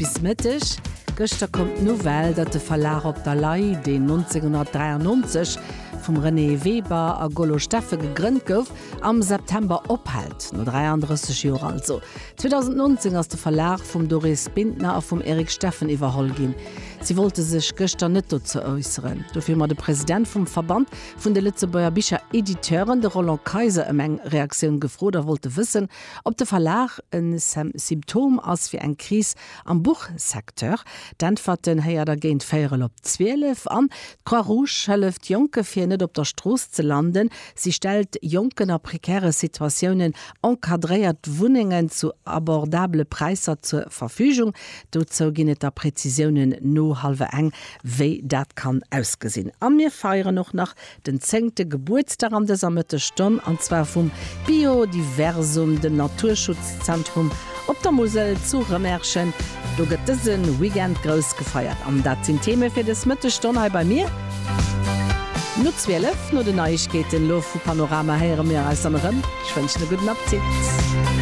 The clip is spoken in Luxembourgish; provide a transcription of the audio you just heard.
Bis Mëtteg gëschter koum d'Nouvelle, datt de Verlag Op der Lay, deen 1993 vum Renée Weber a Golo Steffen gegrënnt gouf, am September ophält. No 33 Joer also. 2019 ass de Verlag vum Doris Bintner a vum Eric Steffen iwwerholl ginn. Si wollte sech gëschter net dozou äusseren. Dofir hu mer de President vum Verband vun de Lëtzebuerger Bicherediteuren, de Roland Kayser, ëm eng Reaktioun gefrot a wollte wëssen, Ob de Verlag e Symptom ass fir eng Kris am Buchsecteur? D'Äntwerten héiert der géint véierel op 12. An d'Croix Rouge hëlleft Jonke fir net op der Strooss ze landen. Si stellt Jonken a prekäre Situatiounen encadréiert Wunnengen zu abordabele Präisser zur Verfügung. Dozou ginn et da Präzisiounen no hallwer eng, wéi dat kann ausgesinn. A mir feieren och nach Den zéngte Gebuertsdag an dëser Mëttesstonn, an zwar vum Biodiversum, dem Naturschutzzentrum op der Musel zu Rëmerschen. Do gëtt dëse Weekend grouss gefeiert. An dat sinn d'Theme fir dës Mëttesstonn hei bei mir. No 12, no den Neiegkeeten elo vu Panorama, héiere mir eis dann erëm. Ech wënschen e gudden Appetit.